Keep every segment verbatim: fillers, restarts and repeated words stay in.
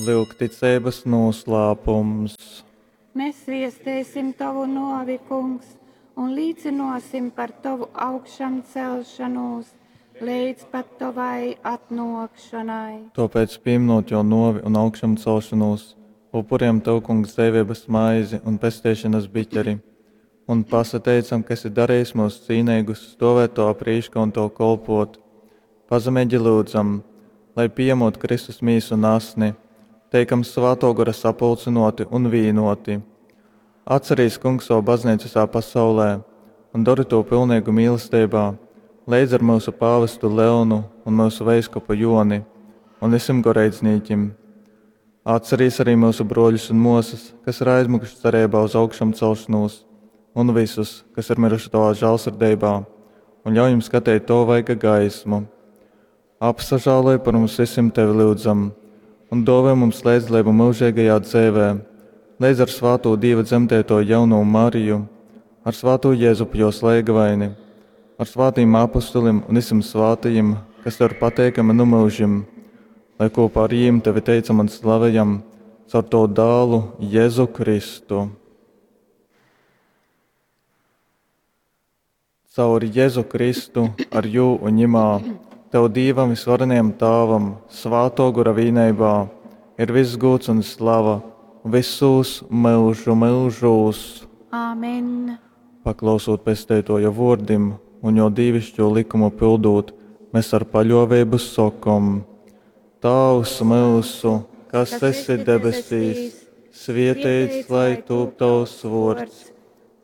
Lyugticeibas nūslāpums. Mēs viestēsim Tovu nōvi, Kungs, un līcynōsim par Tovu augšamcelšanūs leidz pat Tovai atnōkšanai. Tōpēc, pīminot jō nōvi un augšamcelšanūs, upurejam Tev, Kungs, dzeiveibas maizi un pesteišonas biķeri, un pasateicam, ka esi darejis myus cīneigus stōvēt Tovā prīškā un Tev kolpōt. Pazemeigi lyudzam, lai, pījamūt Kristus mīsu un asni, teikam Svātō Gora sapulcynōti un vīnōti. Atcerīs, Kungs, savu baznīcu visā pasaulē un dori tū pilneigu mīlesteibā, leidz ar myusu pāvestu Leonu un myusu veiskupu Joni un visim goreidznīkim. Atcerīs arī myusu brōļus un mōsas, kas ir aizmiguši cereibā uz augšamcelšanos, un visus, kas ir miruši Tavā žālsirdeibā, un ļauj jim skateit Tavu vaiga gaismu. Apsažāloj par mums visiem Tevi lyudzam, un dōvoj mums līdzdalību mūžīgajā dzeivē, leidz ar svātū Dīva dzemdēto jauno Mariju, ar svātū Jēzupu jos leigavaini, ar svātīm apustulim un visiem svātajim, kas tev ir pateikami nu mūžim, lai kopā ar jīm tevi teicam un slavejam caur tavu dālu Jēzu Kristu. Caur Jēzu Kristu, ar jū un ņimā, tev Dīvam visvarenajam Tāvam, svātō gora vīneibā, ir viss gūds un slava visūs myužu myužūs. Āmen. Paklausūt pesteitoja vōrdim un jo dīvišķo likumu pildūt, mēs ar paļōveibu sokom: Tāvs myusu, kas esi debesīs, svieteits lai tūp tavs vōrds,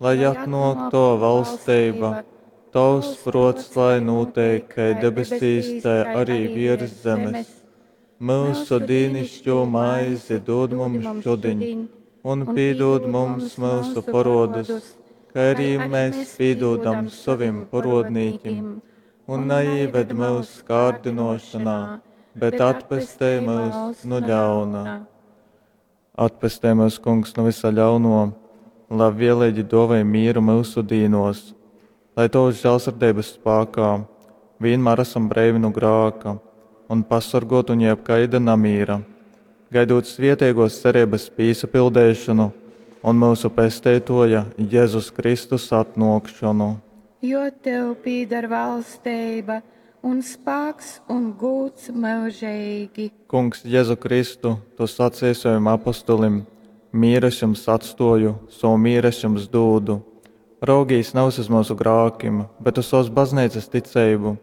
lai atnōk tava valstība, tavs prōts lai nūteik kai debesīs, tai arī virs zemes. Mūsu dīnišķo maizi dod mums šodien, un piedod mums mūsu parodus, kā arī mēs piedodam saviem parodnīkim, un neieved mūsu kārdinošanā, bet atpestē mūs no ļauna. Atpestē mūs, Kungs, no visa ļauno, labvēlīgi dāvāj mieru mūsu dīnos, lai tavas žēlsirdības spēkā vienmēr esam breivi no grāka un pasargot un jebkaida namīra, gaidot svietiegos cerības pīsapildēšanu un mūsu pesteitoja Jēzus Kristus atnākšanu. Jo tev pīdar valstība un spēks un gūds mūžīgi. Kungs, Jēzu Kristu, tu sacīji saviem apostolim, mieru es jums atstoju, savu mieru es jums dūdu. Raugīs nevis uz mūsu grākim, bet uz savas baznīcas ticību,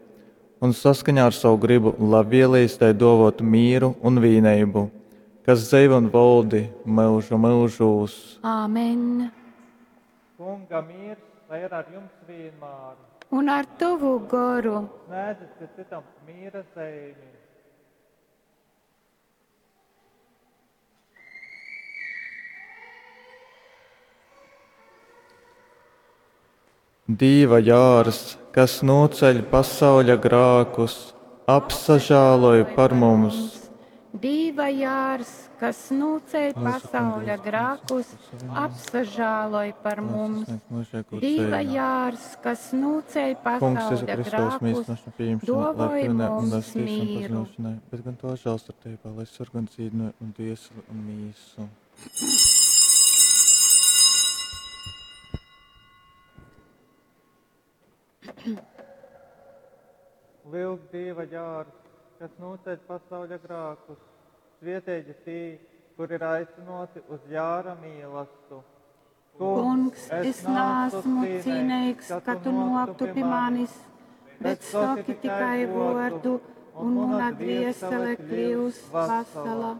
un saskaņā ar savu gribu labvēlīs tai dovot mieru un vīneibu, kas dzeivo un valdi mūžu mūžūs. Āmen. Kunga miers, lai ir ar jums vienmēr. Un ar tavu goru. Sniedzat citam miera zīmi. Dīva jārs, kas noceļ pasauļa grākus, apsažāloj par mums. Dīva jārs, kas noceļ pasauļa grākus, apsažāloj par mums. Dīva jārs, kas noceļ pasauļa grākus, dāvoj mums mieru. Bet gan to žēlsirdībā, lai sargan dzīvību un dvieseli un mīsu. Lūk, Dieva jārs, kas noceļ pasauļa grākus, svietīgi tī, kur ir aicināti uz jāra mīlastu. Kungs, es neesmu cienīgs, ka tu noktu pie manis, bet saki tikai vārdu, un mana dviesele kļūs vesela.